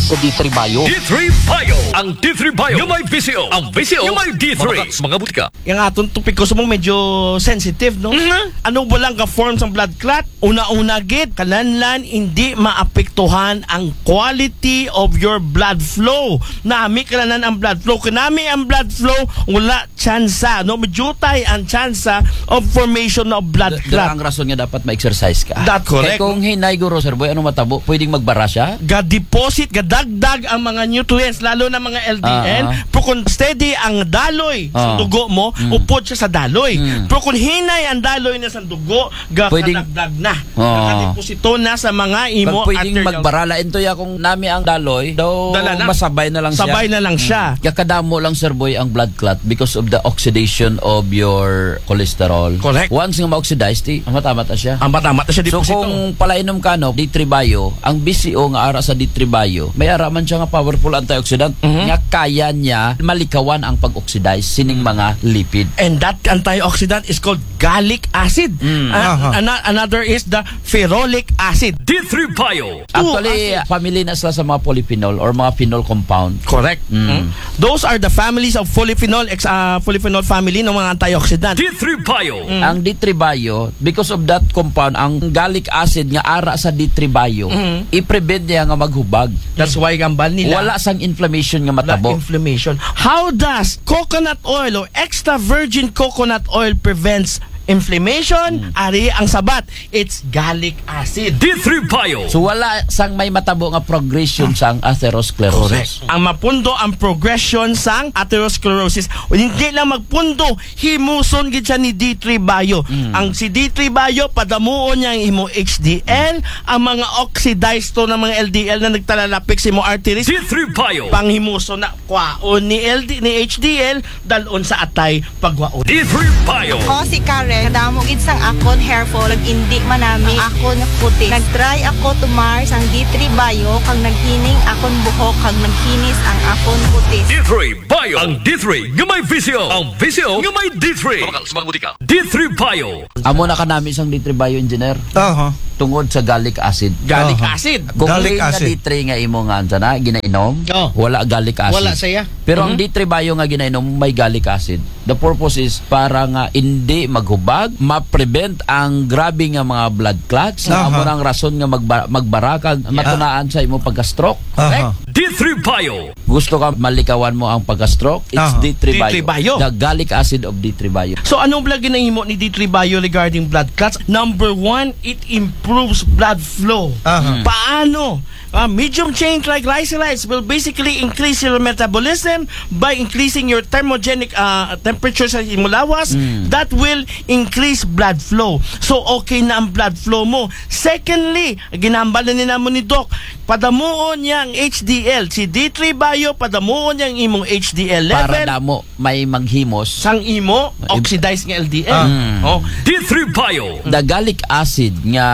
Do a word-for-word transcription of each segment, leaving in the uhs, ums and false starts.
sa D three Bio. D three Bio. Ang D three Bio nga may V C O. Ang V C O nga may D three. Mga, mga butika. Yung atong topiko sa mo medyo sensitive, no? Mhm. Ano ba lang ka-form sa blood clot? Una-una gid, kinahanglan hindi maapektuhan ang quality of your blood flow. Nami kinahanglan ang blood flow. Kung nami ang blood flow, wala tsansa, no? Majutay ang tsansa of formation of blood clot. Ang rason nga dapat ma-exercise ka. That's correct. Kay kung hinay guro, Sir Boy, ano matabo? Pwedeng magbara siya? Ga-deposit, gadagdag ang mga nutrients, lalo na mga L D L. Ah, ah. Pero kung steady ang daloy sa dugo mo, mm, upod siya sa daloy. Mm. Pero kung hinay ang daloy na sa dugo, pwedeng gadagdag na. Oo. Nakadeposito na sa mga imo arterial. Pag pwedeng magbara, lain to ya kung nami ang daloy, daw masabay na lang siya. Sabay na lang siya. Mm. Kaya kadamo lang, Sir Boy, ang blood clot because of the oxidation of your cholesterol. Correct. Once nga ma-oxidize, ti, amat-amat na siya. Amat-amat na siya, so, deposito. Kung palainom ka, no, D three Bio, ang V C O nga ara sa D three Bio, may ara man siya nga powerful antioxidant, mhm, nga kaya niya malikawan ang pag-oxidize sining, mm, mga lipid. And that antioxidant is called gallic acid. Mm. Ah, aha. Ana-, another is the ferolic acid. D three Bio. Actually, acid, family na sila sa mga polyphenol or mga phenol compound. Correct. Mm. Hmm? Those are the families of polyphenol, ex-, ah, polyphenol family ng mga antioxidant. D three Bio. Mm. Ang D three Bio, because of that compound, ang gallic acid nga ara sa D three Bio, mm, i-prevent niya nga maghubag. That's why gambal nila. Wala sang inflammation nga matabo. Wala inflammation. How does coconut oil or extra virgin coconut oil prevents inflammation? Mm. Ari ang sabat. It's gallic acid. D three Bio. So, wala sang may matabo nga progression sang atherosclerosis. Correct. Ang mapundo ang progression sang atherosclerosis, hindi lang magpundo, himuson gid siya ni D three Bio. Mm. Ang si D three Bio, padamuon niya ang imo H D L, ang mga oxidized to ng mga L D L na nagtalalapik sa imo arteries. D three Bio. Panghimuson na, kwaon ni L D, ni H D L, dalon sa atay, pagwaon. D three Bio. Ako si Karen. Kadamo gid sang akon hair fall, kag indi manami ang akon kutis. Nag-try ako tumar sang D three Bio, kag naghining akon buhok, kag naghinis ang akon kutis. D three Bio. Ang D three nga may V C O. Ang V C O nga may D three. Mabakal sa mga butika. D three Bio. Amo na kanami sang D three Bio, engineer. Aha. Tungod sa gallic acid. Gallic acid. Aha. Kung gallic plain nga acid. D three nga imo nga ansa na, ginainom, oh, wala gallic acid. Wala siya. Pero ang, mhm, D three Bio nga ginainom, may gallic acid. The purpose is para nga hindi maghubag, ma-prevent ang grabe nga mga blood clots, nga, aha, amo nang rason nga magba-, magbara kag, yeah, matunaan sa imo pagka-stroke. Aha. Correct? D three Bio. Gusto ka malikawan mo ang pagka-stroke? It's, aha, D three Bio. D three Bio. The gallic acid of D three Bio. So, anong pala ginahimo ni D three Bio regarding blood clots? Number one, it improves blood flow. Aha. Hmm. Paano? Ah, medium chain triglycerides will basically increase your metabolism by increasing your thermogenic, ah, temperature sa imong lawas. Mm. That will increase blood flow. So, okay na ang blood flow mo. Secondly, ginambal na ni namo ni Doc, padamuon niya ang H D L. Si D three Bio, padamuon niya ang imong H D L level. Para damo may maghimos. Sang imo, oxidized nga L D L. Ah. Mm. Oh. D three Bio. The gallic acid nga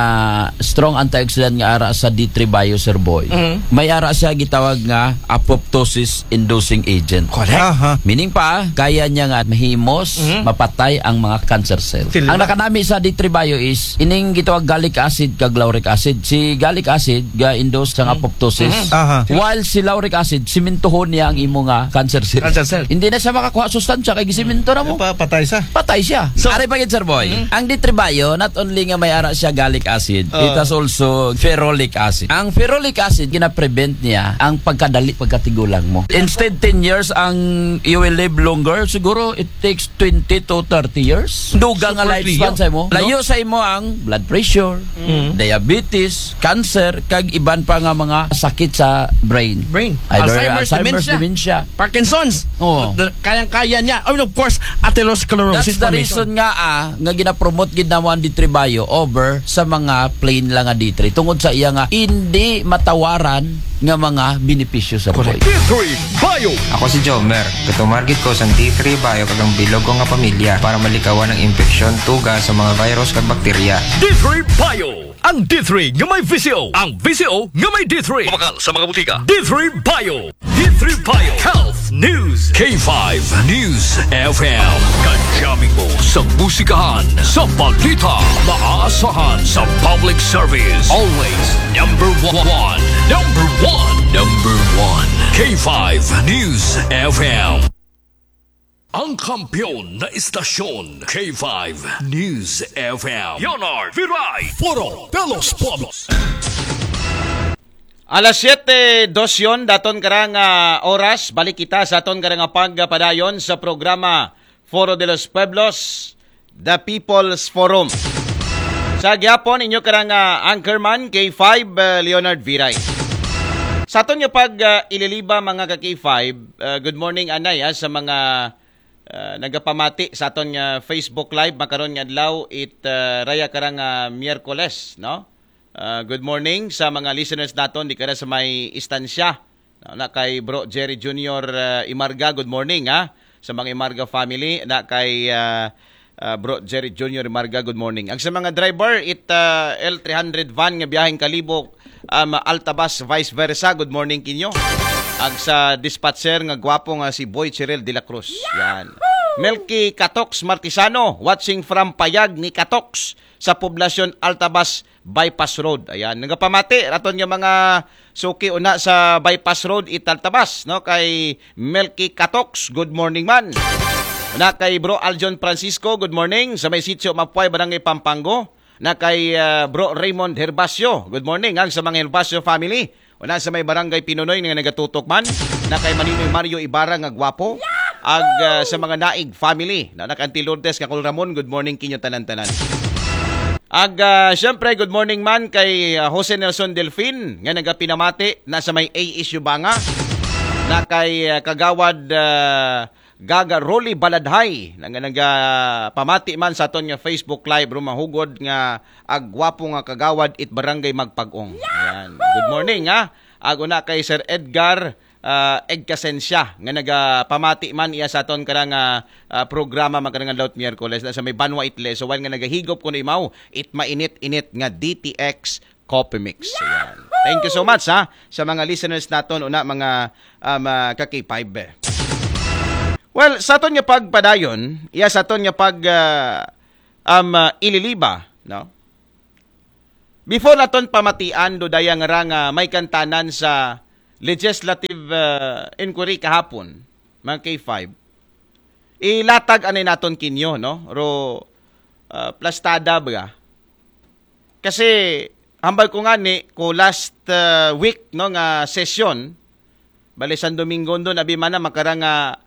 strong antioxidant nga ara sa D three Bio, Sir Boy. Mm. May ara siya gitawag nga apoptosis inducing agent. Correct. Aha. Meaning pa, kaya niya nga mahimos, mm, mapatay ang mga cancer cells. Sila. Ang nakanami sa D three Bio is ining gitawag gallic acid kag lauric acid. Si gallic acid ga-induce sa, mm, apoptosis. Mm. Aha. While si lauric acid, simintuhon niya ang imo nga cancer cell. Cancer cell. Hindi na siya makakuha sustansya kay gisiminto na mo. Pa-, patay siya. Patay siya. So, ari pa gid, Sir Boy. Mm. Ang D three Bio, not only nga may ara siya gallic acid, uh, it has also ferolic acid. Ang ferolic acid, gina-prevent niya ang pagkadali, pagkatigulang mo. Instead ten years ang you will live longer, siguro it takes twenty to thirty years. Dugang nga lifespan sa imo. Super, no? Layo sa imo ang blood pressure, mm, diabetes, cancer, kag iban pa nga mga sakit sa brain. Brain. Either Alzheimer's, Alzheimer's, dementia, dementia. Parkinson's. Oo. The, kayang-kaya niya. I mean, of course, atherosclerosis formation. That's the reason nga, ah, nga ginapromote gid namo ang D three Bio over sa mga plain lang nga D three. Tungod sa iya nga hindi matawaran nga mga benepisyo sa buhay. Correct. D three Bio. Ako si Jomer. Gatumar gid ko sang D three Bio kag ang bilog ko nga pamilya para malikawan ang impeksyon, tuga sa mga virus kag bakterya. D three Bio. Ang D three nga may V C O. Ang V C O nga may D three. Mabakal sa mga butika. D three Bio. D three Bio. Health News. K five News F M. Kadyamin mo sa musikahan, sa balita, maaasahan sa public service. Always number one. Number one. Number K five News F M. Ang kampiyon na istasyon, K five News F M. Leonard Viray. Foro de los Pueblos. Alas siyete dosyon daton karang ah, oras, balik kita sa aton karang pagpadayon sa programa Foro de los Pueblos, The People's Forum. Sa gihapon, inyo karang ah, anchorman, K five, ah, Leonard Viray. Sa aton nga pag ah, ililiba, mga ka K five, ah, good morning, anay, ah, sa mga ah, nagapamati sa aton nga Facebook Live makaron nga adlaw, it ah, raya karang ah, Miyerkules, no? Ah, good morning sa mga listeners naton di kara sa may istansya. Na, na kay Bro Jerry Junior ah, Imarga, good morning, ha. Sa mga Imarga family, na kay ah, ah, Bro Jerry Junior Imarga, good morning. Ang sa mga driver, it ah, L three hundred van nga biyaheng Kalibo, um, Altabas, vice versa, good morning kinyo. Ag sa dispatcher nga gwapo nga si Boy Chirel de la Cruz. Yan. Melky Katox Martisano, watching from Payag ni Katox sa Poblacion Altabas Bypass Road. Ayan, nagapamati raton nga mga suki una sa Bypass Road, it Altabas, no, kay Melky Katox, good morning man. Una kay Bro Aljon Francisco, good morning. Sa may Sitio Mapuay, Barangay Pampanga. Na kay ah, Bro Raymond Herbacio, good morning. Ang sa mga Herbacio family, una sa may Barangay Pinunoy nga nagatutok man. Na kay Maninoy Mario Ibarra nga gwapo. Ag ah, sa mga Naig family, na, na kay Auntie Lourdes, Kakul Ramon, good morning kinyo tanan-tanan. Ag ah, syempre, good morning man kay ah, Jose Nelson Delfin nga nagapinamati na sa may A S U Banga. Na kay ah, Kagawad ah, Gaga Rolly Baladhay nga nagapamati man sa aton nga Facebook Live, rumahugod nga agwapo nga kagawad it Barangay Magpag-ong. Ayan. Good morning, ha. Ag una kay Sir Edgar ah, Egkasensya nga nagapamati man iya sa aton karang ah, ah, programa makarang adlaw, Miyerkules, na sa may Banwa Itle. So, while nga nagahigop kuno imaw it mainit-init nga D T X Coffee Mix. Ayan. Thank you so much, ha, sa mga listeners naton una, mga um, ah, ka K five. Well, sa aton nga pagpadayon, iya sa aton nga pag ah, um, ah, ililiba, no? Before naton pamatian, do daya nga ra nga may kantanan sa legislative ah, inquiry kahapon, mga K five. Ilatag anay naton kinyo, no? Ro ah, plastada ba? Kasi hambal ko nga ni ko last ah, week, no, nga session, bali San Domingo do, abi man na makarang nga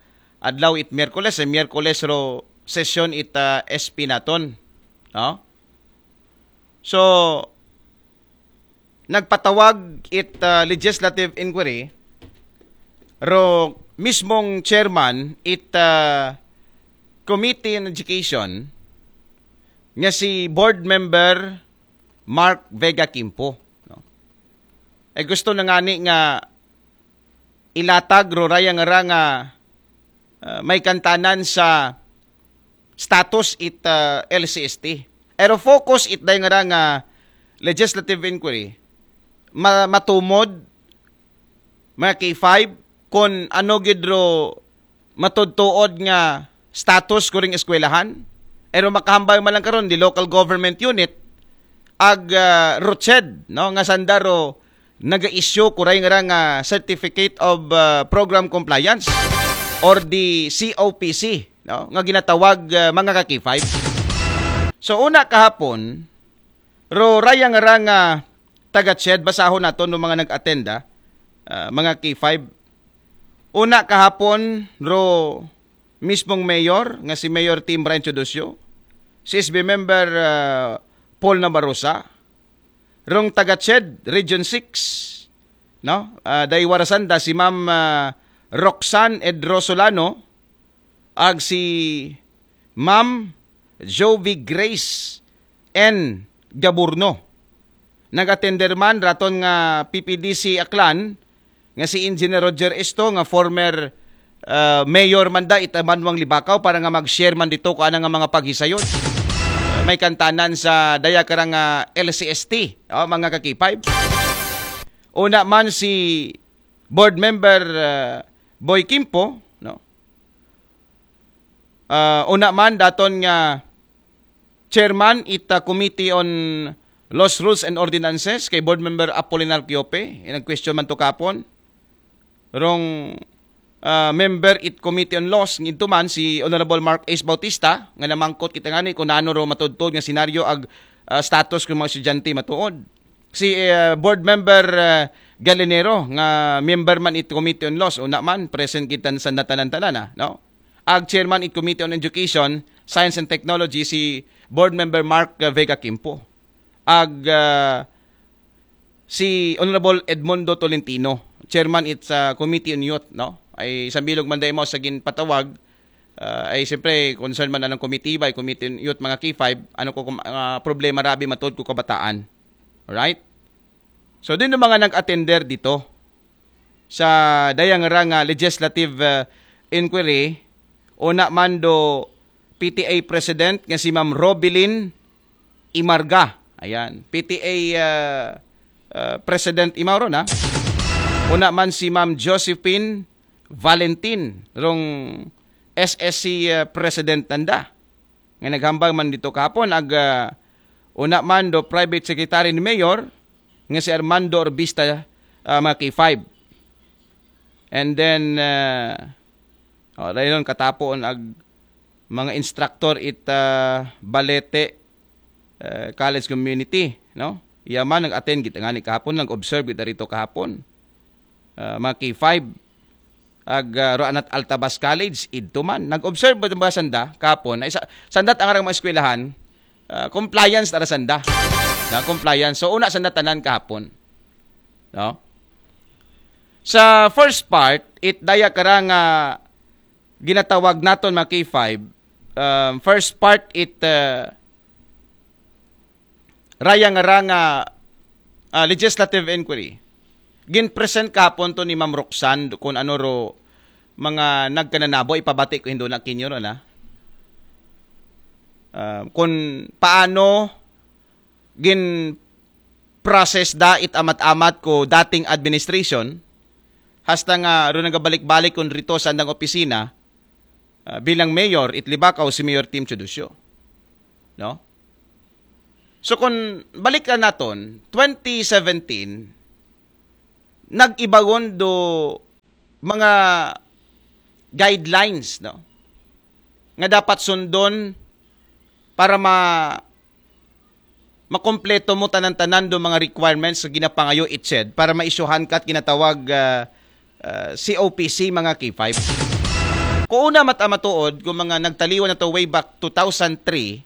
adlaw it Miyerkules, eh, Miyerkules ro session it ah, S P naton. No? So, nagpatawag it ah, legislative inquiry ro mismong chairman it ah, Committee on Education nga si Board Member Mark Vega Quimpo, no? Eh, gusto na nga ni nga ilatag ro raya nga ra nga ah, may kantanan sa status it ah, L C S T. Pero focus it day nga ra nga legislative inquiry, ma- matumod, mga K five, kung ano gid ro matudtuod nga status kuring eskwelahan. Pero makahambal man lang karon di local government unit, ag ah, ROCED, no, nga sanda ro naga-issue kuray nga ra nga certificate of ah, program compliance or the C O P C, no, nga ginatawag ah, mga ka K five. So una kahapon, ro raya nga ra nga taga CHED, basahon naton no mga nag-attend, ah, ah, mga K five. Una kahapon, ro mismong mayor nga si Mayor Tim Brian Teodosio, C S B member ah, Paul Nabarosa, rong taga CHED Region six, no? Ah, dai wara sanda si Ma'am ah, Roxanne Edro Solano, ag si Ma'am Jovi Grace N Gaburno. Nag-attender man raton nga P P D C Aklan nga si Engineer Roger Esto nga former ah, mayor man da it Banwang Libakaw para nga mag-share man dito ko ana nga mga paghisayod. May kantanan sa daya karang ah, L C S T, oh, mga ka K five. Una man si board member ah, Boy Quimpo, no? Ah, una man daton nga chairman ita Committee on Laws, Rules and Ordinances kay board member Apolinar Quiope, nag-question man to kapon. rong ah, member it Committee on Laws, nginto man si Honorable Mark Ace Bautista, nga namangkot kita ngani kung nano ro matudtod nga senaryo ag ah, status kung mga estudyante matuod. Si ah, Board Member ah, Galinero, nga member man it Committee on Laws, una man, present kita sa natanan-tanan, ah, no? Ag chairman it Committee on Education, Science and Technology, si Board Member Mark ah, Vega Quimpo. Ag ah, si Honorable Edmundo Tolentino, chairman it sa Committee on Youth, no? Ay sambilog man dai mo sa ginpatawag, ah, ay siyempre concern man anong committee ba, ay Committee on Youth, mga K five, ano ko kung, ah, problema rabi matod ko kabataan. Alright? So din yung mga nag-attender dito sa dayang ra nga legislative ah, inquiry, una man do P T A President nga si Ma'am Robilin Imarga. Ayan, P T A ah, ah, President Imaw ron, ha? Una man si Ma'am Josephine Valentin, rong S S C ah, President nanda. Nga naghambal man dito kahapon, ag ah, una man do Private Secretary ni Mayor, nga si Armando Orbista, ah, mga K five. And then, ah, oh, dayon katapo ag mga instructor it ah, Balete ah, College Community, no? Iya man nag-attend gid ngani kahapon, nag-observe gid rito kahapon. Ah, mga K five, ag ah, Roanat Altabas College, idto man. Nag-observe ba, ba sanda kahapon? Ay, sa, sandat ang arang mga eskwelahan, ah, compliance tara sanda. Na compliance. So, una sanda tanan kahapon. No? Sa first part, it daya kara nga ginatawag naton mga K five, um, first part it uh, raya nga ra nga ah, legislative inquiry. Gin-present kahapon to ni Ma'am Roxanne kung ano ro mga nagkananabo, ipabati ko hindo na kinyo ron, ha? Ah, kung paano gin-process da it amat-amat ko dating administration, hasta nga ro nagabalik-balik kun rito sa andang opisina, ah, bilang mayor, it Libacao, si Mayor Tim Teodosio. No? So kung balikan naton, twenty seventeen, nag-ibagon do mga guidelines, no? Nga dapat sundon para ma makompleto mo tanan-tanan do mga requirements nga ginapangayo it SED para maisyuhan ka at ginatawag ah, ah, C O P C, mga K five. Kung una mat-, matuod, kung mga nagtaliwan na to way back two thousand three,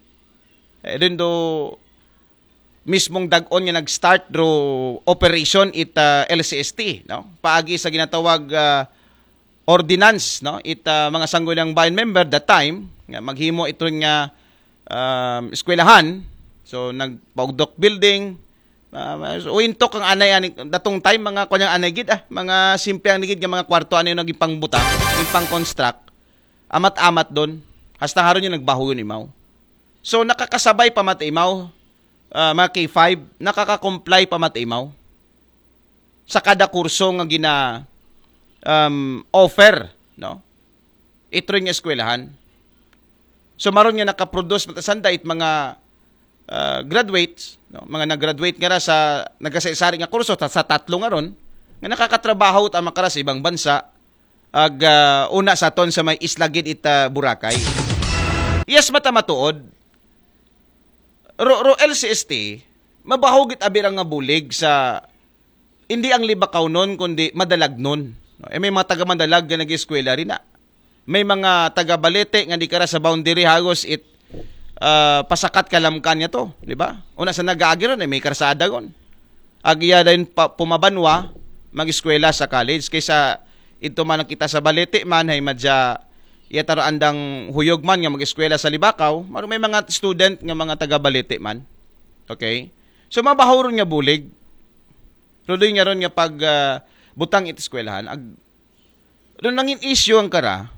eh, dun do mismong dag-on nga nag-start do operation it ah, L C S T, no? Paagi sa ginatawag ah, ordinance, no? It ah, mga sangguniang bayan member that time, nga maghimo ito nga um, eskwelahan. So nagpaugdok building. Uh, so, uintok ang anay ani datong time, mga kunyang anay gid ah, mga simple ang gid nga mga kwarto ano yung naging pangbutang, yung pang-construct. Amat-amat doon. Hasta haron yung nagbaho yun imaw. So nakakasabay pa mat imaw, ah, mga K five, nakaka-comply pa mat imaw sa kada kurso nga gina um, offer, no? Itro nga eskwelahan. So maron nga nakaproduce matasanda it mga ah, graduates, no? Mga nag-graduate nga ra sa nagasaysari nga kurso ta-, sa tatlo nga ron nga nakakatrabaho ta makara sa ibang bansa, ag ah, una sa aton sa may isla gid it ah, Boracay. Yes, mata matuod. Ro, ro L C S T, mabahugit abirang nga bulig sa hindi ang Libacao nun, kundi Madalagnon. No? Eh, may mga taga Madalag nga nag-eskwela rin na. May mga taga Balete nga di kara sa boundary hagos it ah, pasakat kalamkan niya to, di ba? Una sa nag-aagi ron, eh, may karsada ron. Agiya din pa, pumabanwa, mag-eskwela sa college. Kaysa ito man nakita sa Balete man, hay madya, iya taro andang huyog man nga mag-eskwela sa Libacao, maro may mga student nga mga taga Balete man. Okay? So, mabaho ron nga bulig. Rudoy nga ron nga pag ah, butang it eskwelahan. Ag, ron nangin issue ang kara,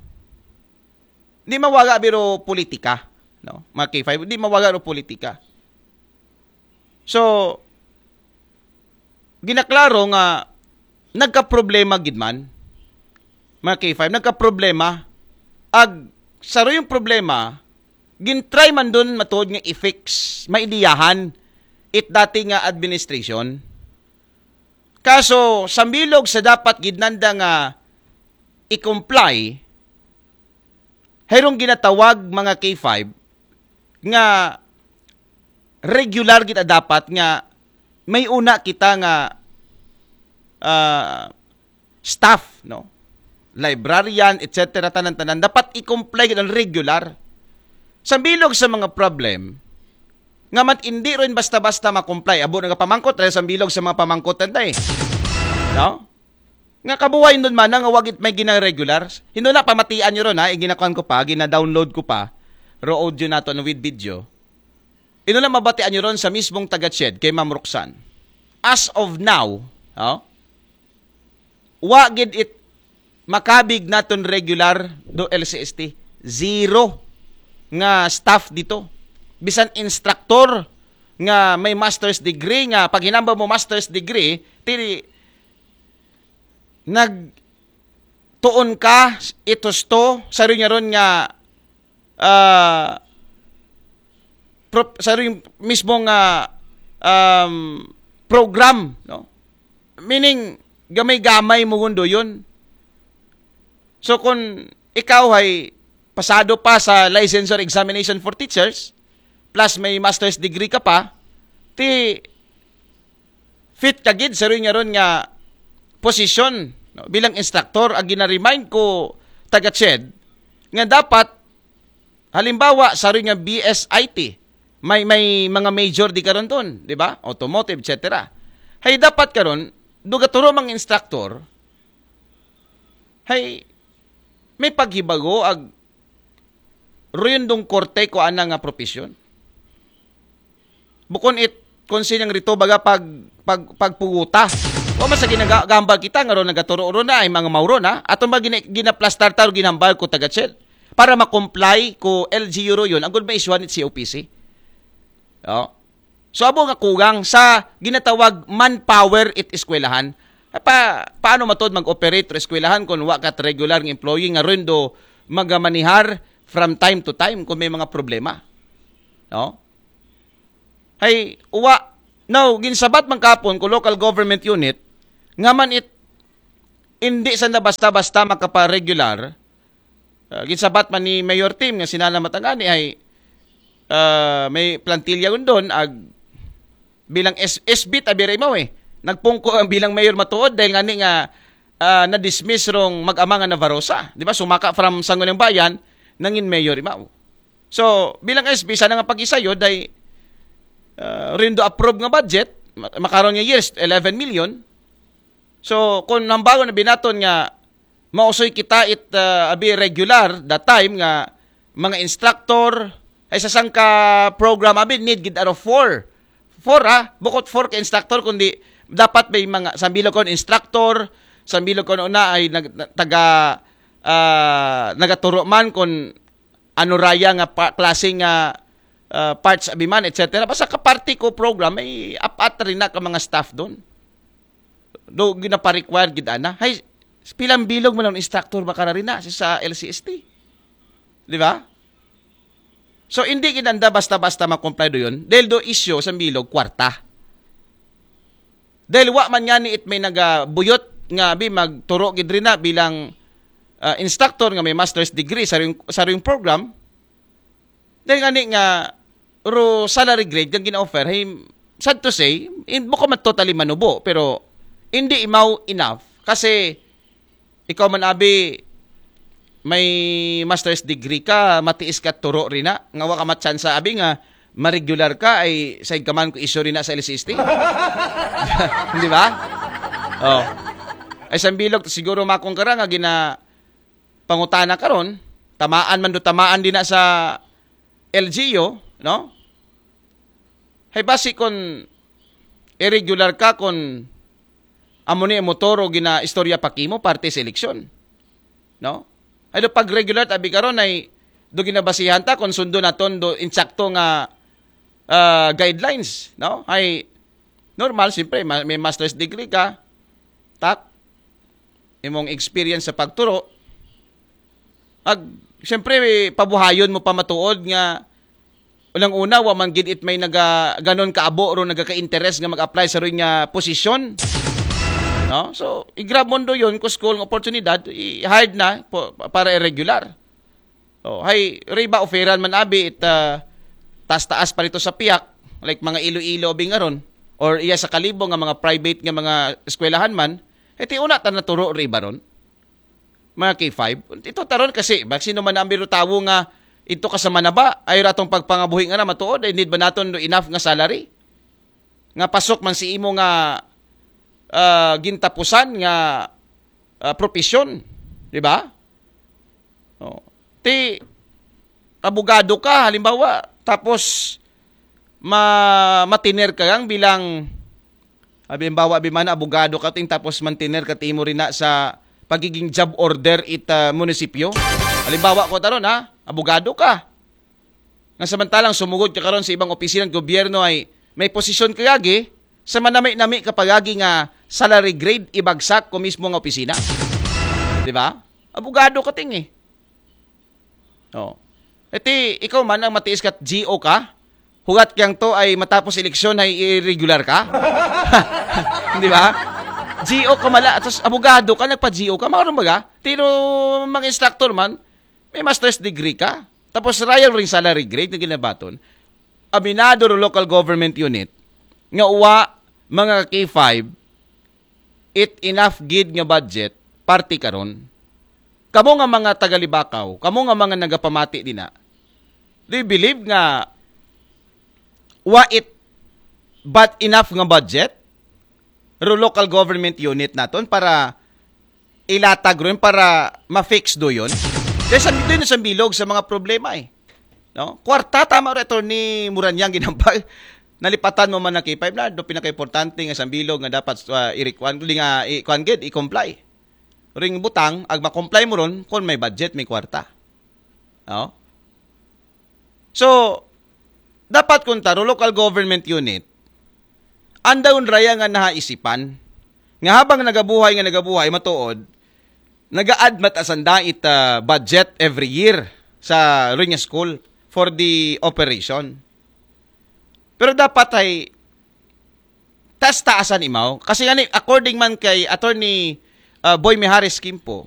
di mawaga biro politika, no? Mga K five, di mawaga ro politika. So, ginaklaro nga nagkaproblema gid man, mga K five, nagkaproblema. Ag, saro yung problema, gintry man dun matuod nga i-fix, maidiyahan, it dati nga administration. Kaso, sa bilog sa dapat gid nanda nga i-comply, hayrong ginatawag mga K five nga regular gid dapat nga may una kita nga ah, staff, no? Librarian, et cetera, tanan-tanan, dapat i-comply gid ang regular. Sa bilog sa mga problem, nga man hindi rin basta-basta ma-comply. Abo, nagapamangkot, dahil sa bilog sa mga pamangkot, tanday. No? Nga kabuhay nun man, nga wagit may gina-regular. Hindi na pamatian nyo ron, ha? Iginakuan ko pa, gina-download ko pa. Raw audio nato, ano, with video. Ino na mabatian nyo ron sa mismong taga-CHED, kay Ma'am Roxanne. As of now, oh, wa gid it makabig naton regular do L C S T. Zero nga staff dito. Bisan instructor nga may master's degree, nga paghinamba mo master's degree, tiri nag tuon ka itusto sa ron nga ron nga ah, pro- sa ron mismo nga um, program, no? Meaning, gamay-gamay mo gundo yun. So, kung ikaw ay pasado pa sa licensure examination for teachers, plus may master's degree ka pa, ti fit ka gid sa ron nga ron nga posisyon, no? Bilang instructor, ang gina-remind ko taga-CHED nga dapat, halimbawa, sa ron nga B S I T, may, may mga major di karon ton, di ba? Automotive, et cetera. Hay dapat karon, dugaturo mang instructor, hay may paghibago ag ruyon dong korte ko ana nga profesyon. Bukon it kung sinyang rito baga pag, pag, pagpuguta. Wa man sa ginagambal kita nga ron nagaturo ron na ay mga mauro na. Ato ba gina, ginaplastar ta o ginambal ko taga-CHED para ma-comply ko L G U ro yun. Ang gud maisyuhan it C O P C. Oh. So abo nga kugang sa ginatawag manpower it eskwelahan. Pa, paano matod mag-operate ro eskwelahan kung wa kat regular nga employee nga ron do magamanihar from time to time kung may mga problema? No? Hay, uwa. Now, ginsabat man kapon ko local government unit, nga man it, hindi sa na basta-basta makaparegular. Uh, ginsabat man ni Mayor Tim nga sinana matangani ay uh, may plantilla undon ag bilang S SB tabi ray mo eh. Nagpungko ang bilang mayor matuod dahil ngani nga uh, na-dismiss rong mag-ama nga Navarosa. Di ba? Sumaka from Sangguniang Bayan, nangin mayor imaw. So, bilang S B, sana nga pag-isayo, day, uh, rindo approve nga budget, makaron nga years, eleven million. So, kung nambago na binaton nga, mausoy kita it uh, abi regular that time nga mga instructor, ay sa sangka program abi need gid aro four. Four ha, bukod four ka instructor kundi dapat may mga sambilog kon instructor, sambilog kon una ay nag, taga uh, nagaturo man kon ano raya nga pa, klase nga uh, parts abi man, et cetera. Basta ka party ko program, may apat rin na ka mga staff doon. Do, ginapa-required gid ana. Hay, pilang bilog man ang instructor ba kararina sa L C S T? Di ba? So, hindi ginanda basta-basta ma-comply do yun. Dahil do issue sa bilog, kwarta. Dahil wa man nga ni it may nagabuyot nga bi magturo gid rin na bilang uh, instructor nga may master's degree sa ring, sa ring program. Dahil nga ni nga ro salary grade nga gina-offer, hey, sad to say, in, bukod man totally manubo, pero hindi imaw enough. Kasi ikaw man abi may master's degree ka, matiis ka turo rin na, nga wa ka matsansa abi nga ma-regular ka ay saig ka man ko iso rin na sa L C S T. Di ba? Oh. Ay sambilog siguro makong kara nga gina pangutana karon, tamaan man do tamaan din na sa L G U, no? Hay basi kon irregular ka kon amo ni motoro gina istorya pakimo parte sa eleksyon. No? Ay do pag regular tabi karon ay do ginabasihan ta kon sundo naton do insakto nga uh, guidelines, no? Ay normal siyempre may master's degree ka, tak imong experience sa pagturo. Ag siyempre pabuhayon mo pa matuod nga unang-una, wa man gid it may naga, ganon kaabo ro nagaka-interest nga mag-apply sa ron nga posisyon. No? So, i-grab mo do yun, kung school ng oportunidad, i-hired na po, para irregular. Oh, hay, riba oferan man abi it, ah, taas-taas pa rito sa piyak, like mga Iloilo, Bingaron, or iya sa Kalibo nga mga private nga mga eskwelahan man, eh, ti una ta naturo riba ron, mga K five. Ito taron kasi, bag sino man ang biro tawo nga ito ka sa manaba, ay ratong pagpangabuhi nga na matuod, ay need ba naton do enough nga salary? Nga pasok man si imo nga, ah, gintapusan nga, ah, profesyon, di ba? Oh. Ti, abogado ka, halimbawa, tapos ma matiner ka lang bilang, halimbawa, bimana abogado ka ting tapos mantiner ka ti imo rin na sa pagiging job order it, ah, munisipyo. Halimbawa ko taron, ha, abogado ka. Nga samantalang sumugod ka karon sa ibang opisina ng gobyerno ay may posisyon ka gagi, sa manami-nami ka pagagi nga salary grade ibagsak ko mismo nga opisina. Di ba? Abogado ka ting eh. Oh. Iti, ikaw man ang matiis ka at G O ka, hugat kiyang to ay matapos eleksyon ay irregular ka. Di ba? G O ka mala, tapos abogado ka, nagpa-G O ka, makaroon baga? Tino mga instructor man, may master's degree ka. Tapos royal ring salary grade na ginabaton. Aminado ro local government unit nga uwa mga K five, it enough gid nga budget, party karon. Kamo nga mga tagalibakaw, kamo nga mga nagapamati dina, do you believe nga wa it but enough nga budget ro local government unit naton para ilatag ron para ma-fix do yun? Dahil sa, doon sa bilog sa mga problema eh. No? Kwarta, tama rin, Attorney Muranyang ginampag. Nalipatan mo man ng K five na, do pinaka-importante nga sa bilog nga dapat uh, irikwan, nga ikuan gid, i-comply. Ring butang, ag ma-comply mo ron, kung may budget, may kwarta. No? So, dapat kung taro, local government unit, andayon raya nga nahaisipan, nga habang nagabuhay, nga nagabuhay, matuod, nag-a-add mat asanda it ah, budget every year sa Riña School for the operation. Pero dapat ay taas-taasan imaw. Kasi nga ni, according man kay Attorney ah, Boy Mijares Quimpo,